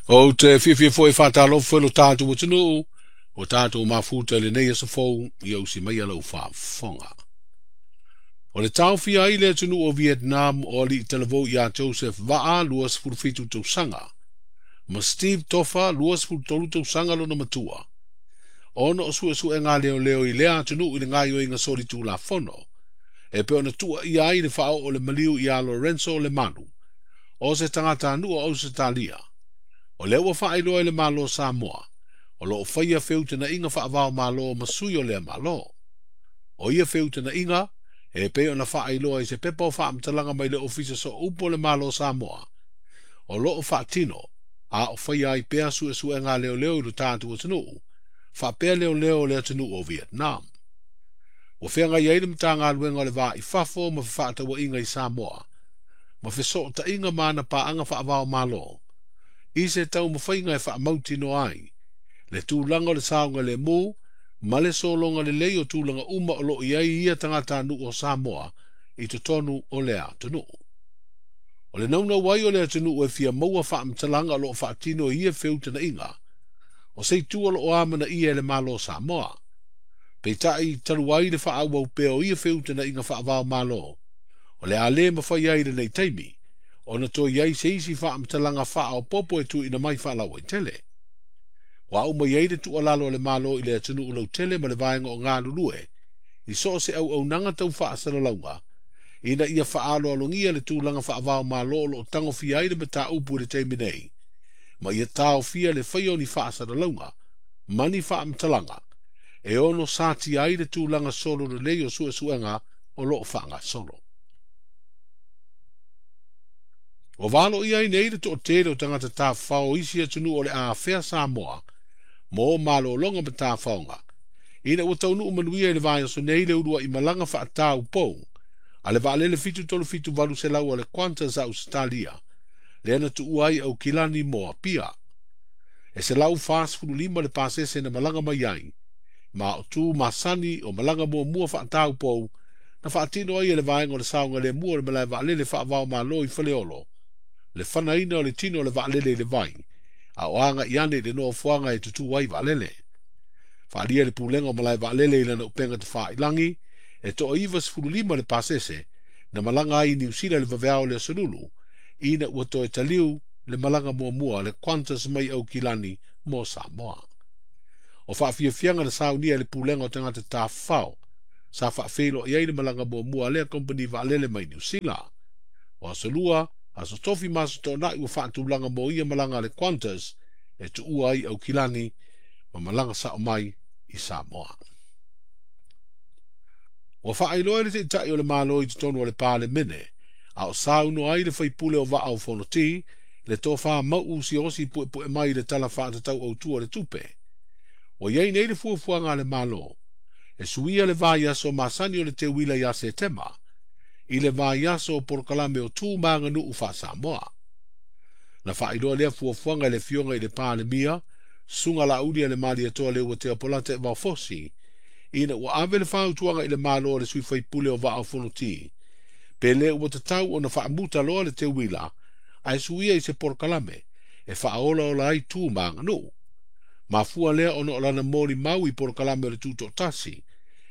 Ou te fiafia foi e faatalofa i lo tatou atunuu, ua tatou mafuta i lenei aso fou ia usi maia lau faafofoga. O le taofia ai le atunuu o Vietnam o alii talavou ia Joseph Vaa 27 tausaga, ma Steve Tofa 23 tausaga lona matua, ona o suesuega a leoleo i lea atunuu i le gaoioiga solitulafono, e pei ona tuuaia ai le faaoo o le maliu ia Lorenzo Lemalu, o se tagatanuu o Ausetalia. O lea ua faailoa e le Malo o Samoa, o lo o faia feutanaiga faava-o-Malo ma sui o lea Malo. O ia feutanaiga, e pei ona faailoa i se pepa o faamatalaga mai le Ofisa Sooupu o le Malo o Samoa, o lo o faatino, a o faia ai pea suesuega a leoleo i lo tatou atunuu, faapea leoleo o le atunuu o Vietnam. Ua feagai ai le Matagaluega o le Va i Fafo ma Fefaatauaiga i Samoa, ma fesootaiga ma ana paaga faava-o-Malo, i se taumafaiga e faamautinoa ai le tulaga o le saogalemu ma le sologa lelei o tulaga uma o lo o i ai ia tagatanuu o Samoa i totonu o lea atunuu. O le naunau ai o le atunuu e fia maua faamatalaga o lo o faatino i ia feutanaiga, o se itu o lo o amanaia e le Malo o Samoa. Peitai talu ai le faaauau pea o ia feutanaiga faava-o-Malo, o le a le mafai ai i lenei taimi, ona toe i ai se isi faamatalaga faaopoopo e tuuina mai faalauaitele. Ua au mai ai le tuualalo a le Malo i le atunuu lautele ma le vaega o galulue, i so o se auaunaga tau faasalalauga, ina ia faaaloalogia le tulaga faava-o-Malo o lo o tagofia ai le mataupu i le taimi nei, ma ia taofia le faia o ni faasalalauga ma ni faamatalaga e ono satia ai le tulaga solo lelei o suesuega o lo o faagasolo. Ua valoia ai nei le toatele o tagata tafafao o isi atunuu o le a afea Samoa mo malologa ma tafaoga, ina ua taunuu manuia i le vaiaso nei le uluai malaga faataupou a le vaalele 737-800 a le Qantas a Ausetalia, lea na tuua ai Aukilani mo Apia. E 145 le pasese na malaga mai ai, ma o tu masani o malaga muamua faataupou na faatino ai e le vaega o le saogalemu o le malae vaalele faava-o-Malo i Faleolo, le fanaina o le tino o le vaalele i le vai, a o agai ane i le nofoaga e tutū ai vaalele. Faaalia le pulega o malae vaalele i lana upega tafailagi, e toa 95 le pasese na malaga ai i Niu Sila i le vaveao o le aso Lulu, ina ua toe taliu le malaga muamua le Qantas mai Aukilani mo Samoa. O faafiafiaga na saunia e le pulega o tagata tafafao, sa faafeiloai ai le malaga muamua a lea kompeni vaalele mai Niu Sila. O aso Lua, aso Tofi ma aso Toonai ua faatulaga mo ia malaga a le Qantas e tuua ai Aukilani ma malaga sao mai i Samoa. Ua faailoa e le Taitai o le Malo i totonu o le Palemene, a o saunoa ai le faipule o Vaa o Fonoti, le tofa Mauu Siaosi Puepue mai i le Tala Faatatau Autu o le Tupe. Ua i ai nei le fuafuaga a le Malo, e suia le vaiaso masani o le teuila ia Setema, i le vaiaso o polokalame o tu ma aganuu faa-Samoa. Na faailoa lea fuafuaga e le Afioga i le Palemia, Susuga Laauli a le Malietoa Leuatea Polata Vaofosi, ina ua ave le fautuaga i le Malo a le sui faipule o Vaa o Fonoti, pe le ua tatau ona faamuta loa le teuila, ae suia i se polokalame e faaolaola ai tu ma aganuu. Mafua lea ona o lana molimau i polokalame o le Tutoatasi,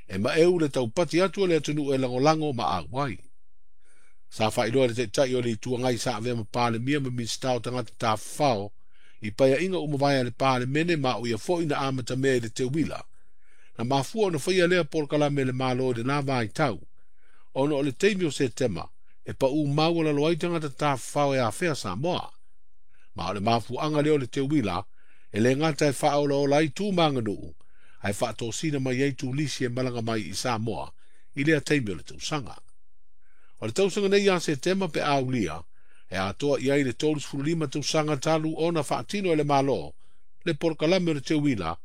e maeu le taupati atu o le atunuu e lagolago ma auai. Sa faailoa e le Taitai o le Itu Agai sa avea ma Palemia ma Minisita o Tagata Tafafao i paeaiga uma vae a le Palemene ma o ia foi na amatamea i le teuila. Na mafua ona faia lea polokalame e le Malo i lena vaitau, ona o le taimi o Setema e paū maualalo ai tagata tafafao e afea Samoa. Ma o le mafuaaga lea o le teuila, e le gata e faaolaola ai tu ma aganuu, ae faatosina mai ai turisi e malaga mai i Samoa i lea taimi o le tausaga. O le tausaga nei ia Setema pe aulia, e atoa i ai le 35 tausaga talu ona faatino e le Malo le polokalame o le teuila,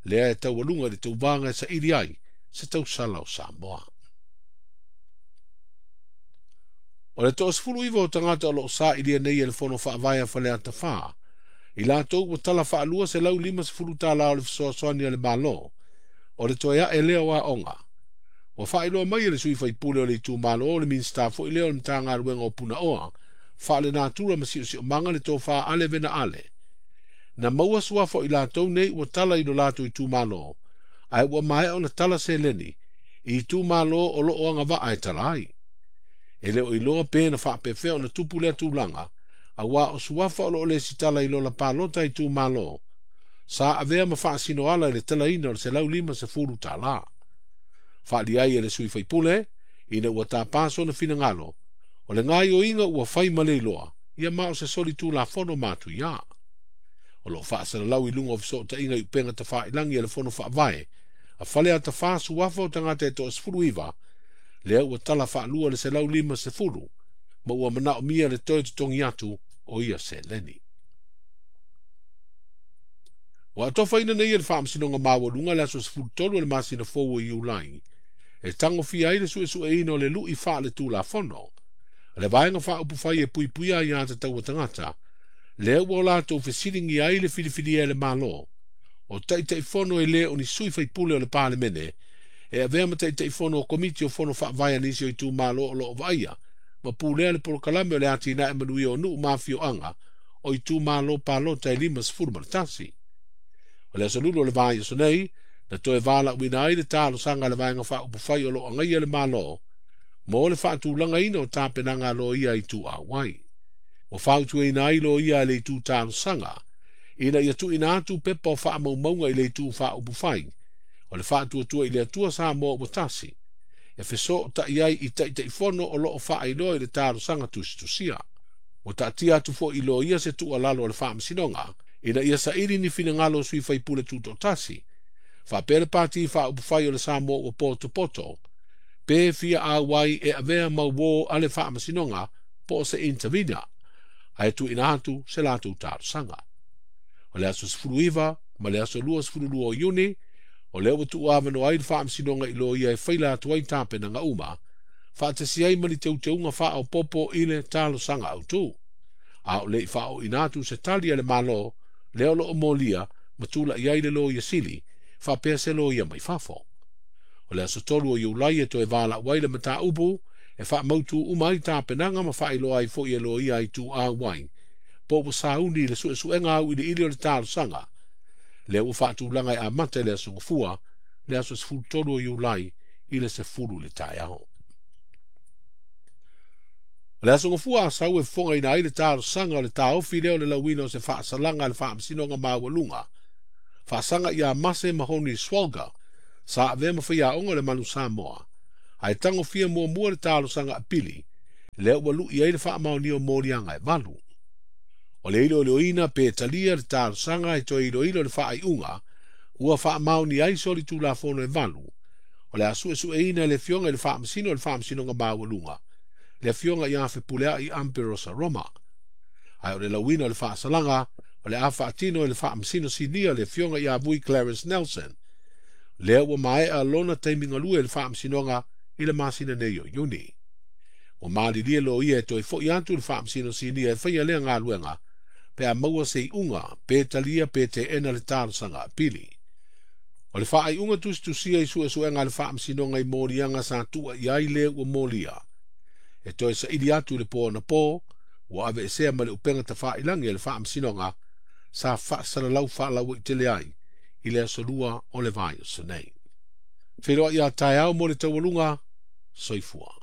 lea e taualuga i le tauvaga e saili ai se tausala o Samoa. O le 19 o tagata o lo o sailia nei e le Fono Faavae a Faleata 4, i latou ua tala faalua $150 o le fesoasoani a le Malo, o le toe ae lea o aoga. Ua faailoa mai e le sui faipule o le itumalo o le Minisita foi lea o le Matagaluega o Punaoa, Faalenatura ma Siosiomaga le tofa Ale Vena Ale. Na maua suafa o i latou nei ua tala i lo latou itumalo, ae ua maea ona tala seleni i itumalo o lo o agavaa e tala ai. E le o iloa pe na faapefea ona tupu lea tulaga, auā o suafa o lo o lesitala i lola palota a itumalo, sa avea ma faasinoala i le talaina o le $150. Faaalia ai e le sui faipule, ina ua tapa sona finagalo, o le gaoioiga ua fai ma le iloa, ia ma o se soli tulafono matuia. O lo o faasalalau i luga o fesootaiga i upega tafailagi a le Fono Faavae, a Faleata 4 suafa o tagata e 19, lea ua tala faalua le 150, ma ua manaomia le toe totogi atu o ia seleni. Ua atofaina nei e le Faamasinoga Maualuga le aso 13 o le masina fou o Iulai, e tagofia ai le suesueina o le lui faaletulafono, le vaega faaupufai e puipuia aiā tatau a tagata, lea ua o latou fesiligia ai le filifilia e le Malo, o Taitaifono e le o ni sui faipule o le Palemene, e avea ma Taitaifono o Komiti o Fono Faavae a nisi o itumalo o lo o vaaia, ma pulea le polokalame o le atinae manuia o nuu ma afioaga o itumalo palota e 51. O le aso Lulu o le vaiaso nei, na toe valaauina ai le talosaga a le vaega faaupufai o lo o agaia le Malo, mo le faatulagaina o tapenaga a loia i ituau ai. Ua fautuaina ai loia a le itu talosaga, ina ia tuuina atu pepa o faamaumauga i le itu faaupufai, o le faatuatua i le Atua Samoa ua tasi, e fesootai ai i Taitaifono o lo o faailoa i le talosaga tusitusia. Ua taatia atu foi i loia se tuualalo a le Faamasinoga, ina ia saili ni finagalo o sui faipule tutoatasi, faapea le Pati Faaupufai o le Samoa ua potopoto, pe fia auai e avea ma uō a le Faamasinoga po o se intervener, ae tuuina atu se latou talosaga. O le aso 19 ma le aso 22 o Iuni, o lea ua tuuavanoa ai le Faamasinoga i loia e faila atu ai tapenaga uma, faatasi ai ma ni teuteuga faaopoopo i le talosaga autū. A o le i faaooina atu se tali a le Malo, lea o lo o molia ma tulai ai le Loia Sili, faapea se loia mai fafo. O le aso 3 o Iulai e toe valaau ai le mataupu, e faamautu uma ai tapenaga ma faailoa ai foi e loia i ituau ai, po ua sauni i le suesuega auiliili o le talosaga, lea ua faatulaga e amata i le aso Gafua, le aso 13 o Iulai i le 10 i le taeao. O le aso Gafua Asau e fofogaina ai le talosaga o le taofi lea o le lauina o se faasalaga a le Faamasinoga Maualuga, faasaga ia Mase Mahoni Swalga, sa avea ma faiaoga o le Manu Samoa, ae tagofia muamua le talosaga apili, lea ua lui ai le faamaonia o moliaga e 8. O le iloiloina pe talia le talosaga e toe iloilo le faaiuga, ua faamaonia ai soli tulafono e 8, o le a suesueina e le Afioga i le Faamasino o le Faamasinoga Maualuga, le Afioga ia Fepuleai Amperosa Roma. Ae o le lauina o le faasalaga, o le a faatino e le Faamasino Sinia le Afioga ia Vui Clarence Nelson, lea ua maea lona taimi galue i le Faamasinoga i le masina nei o Iuni. Ua malilie loia e toe foi atu le Faamasino Sinia e faia lea galuega, pe a maua se iuga, pe talia pe teena le talosaga apili. O le faaiuga tusitusia i suesuega a le Faamasinoga i moliaga sa tuua i ai le ua molia, e toe saili atu i le po anapo, ua aveesea ma le upega tafailagi a le Faamasinoga, sa faasalalau faalauaitele ai i le aso 2 o le vaiaso nei. Feiloai ia taeao mo le taualuga, soifua.